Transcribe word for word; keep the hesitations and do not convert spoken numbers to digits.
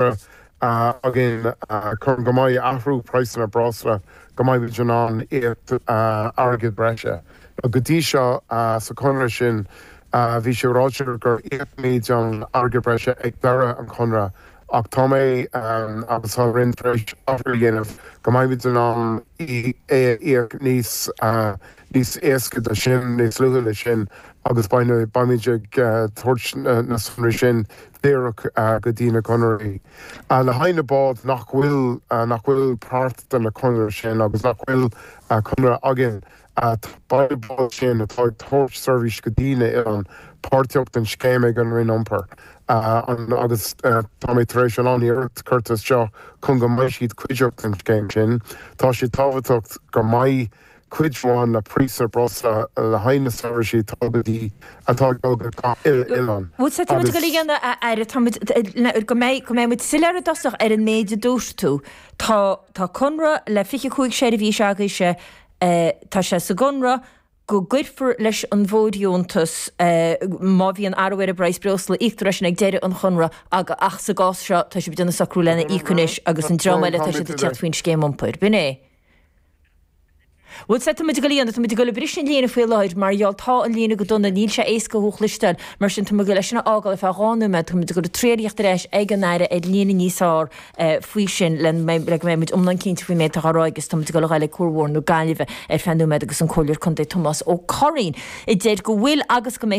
conradh againn chun go mbeidh athrú praghsanna breosla go mbeidh in ann íoc airgead breise. Go dtí seo sa chonradh sin bhí sé ráite gur íocfaimid an airgead breise ag deireadh an chonradh ach tá mé agus tá Roinn tar éis athrú a dhéanamh go mbeimid in ann é a íoc níos níos éasca de sin níos luaithe le sin agus beimid ag tabhairt na sonraí sin díreach go dtí na conraitheoirí. Le haghaidh na bád nach bhfuil nach bhfuil páirt de na conradh sin agus nach bhfuil conradh againn beidh báid sin atá ag tabhairt seirbhís go dtí na hoileáin páirteach den scéim ag an Roinn Iompair agus tá mé tar éis an iarracht curtha seo chun go mbeidh siad cuideach den scéim sin. Tá sé tábhachtach go mbeidh cuid amháin le praghas breosla le haghaidh na seirbhísí atá go dtí atá go oileán. Bhuel tá muid ag dul a Aire tá go mbeidh go mbeidh muid soiléir i dtosach ar an méid a dúirt tú. Tá tá conradh le fiche cúig seirbhís agaibhse tá sé sa gconradh go gcuirfear leis an bhfóirdheontas má bhíonn athrú ar an bpraghas breosla íoctar sin ag deireadh an chonradh ach sa gcás seo tá sibh ag déanamh socrú lena íoc anois agus an dream eile tá siad ag teacht faoin scéim iompair. B'in é. Bhuel, tá muid ag dul tá muid ag dul ag briseadh an líne faoi láthair mar gheall tá an líne go dona níl sé éasca thú a chloisteáil mar sin tá muid ag dul leis sin a fhágáil ar feadh dhá nóiméad tá muid ag dul ag triail theacht ar ais ag an Aire ar líne níos fearr faoi sin le le go mbeidh muid iomlán cinnte faoin méid atá á rá agus tá muid ag dul a ghabháil ag Cuar Mhór na Gaillimhe ar feadh nóiméad agus an Comhairleoir Contae Tomás Ó Curraoin a deir go bhfuil agus go mbeidh